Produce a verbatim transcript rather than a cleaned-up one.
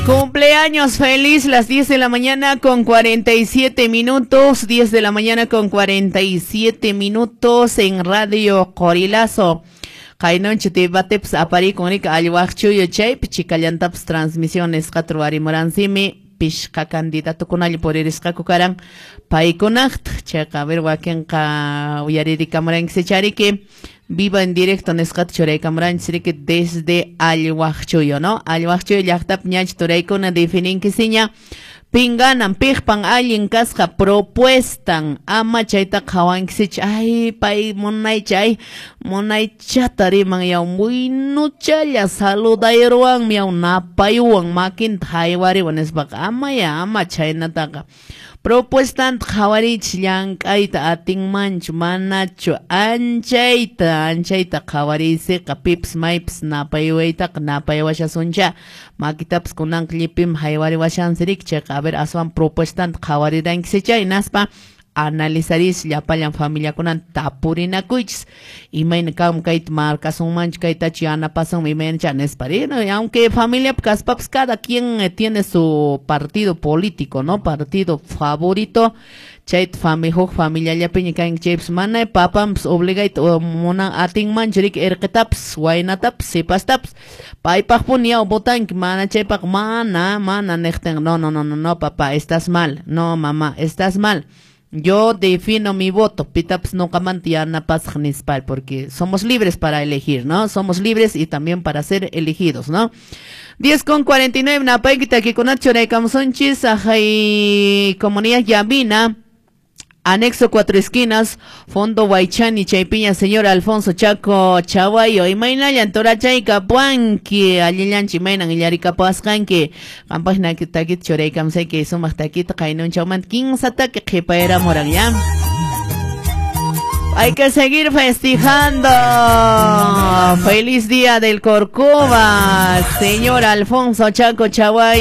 Cumpleaños feliz, las diez de la mañana con cuarenta y siete minutos, diez de la mañana con cuarenta y siete minutos en Radio Qorilazo. Qaynuncha debatepas aparikun riki allwaqchuyo chaypi chikallantapas transmisiones qatruwarimuranzimi pishqa candidatokunalla puririsqaku karan paykunaqtaq chayqa a ver wakinqa uyaririkamuranki chariki viva en directo nisqata churaykamuranchis riki desde Allwaqchuyo, ¿no? Allwaqchuyo llaqtapi ñacha turaykuna defininkisiña pinganan piqpan allin kasqa propuestan ama chayta qhawankisich ay pay munaycha ay munaychata riman yaw muynuchalla saludayruwanmi yaw napaywan makinta haywariwan nispaqa ama ya ama chhaynataqa propuestanta qhawariychis llank'ayta atinmanchu manachu anchayta anchayta qhawariysiqa pipas maypas napaywaytaqa napaywashasuncha makitapas kunanqa llipim haywariwashansi riki chayqa a ver aswan propuestanta qhawarirankisicha hinaspa analizaris llapallan familiakunan tapurinakuychis imayna kam kayta markasunmanchu kaytachu yanapasunman imaynacha nispa aunque familiapi kaspapas cada quien tiene su partido político, ¿no? Partido favorito chayta fami huk familiallapiña kanki chaypas mana papanpas obligayta munan atinmanchu riki irqitapas waynatapas sipastapas paypaqpuni yaw votanki mana chaypaq mana mana niqtin no no no no no papá estás mal, no mamá estás mal. Yo defino mi voto, pitapas nuqamanta yanapasaq nispa, porque somos libres para elegir, ¿no? Somos libres y también para ser elegidos, ¿no? diez con cuarenta y nueve, napayki takikunata churaykamusunchis, ajay comunidad Yamina, anexo Cuatro Esquinas, Fondo Guaychani, Chaypiña, señor Alfonso Chaco Chaguayo, imaynallan torachayka puanki, allillanchi imaynan illarikapasqanki, qampaqna takita churaykamusayki sumaq takita qaynunchawmanta kinsa taki qhipayramuran ya. Hay que seguir festejando. Feliz día del Corcova, señor Alfonso Chaco Chaguayo.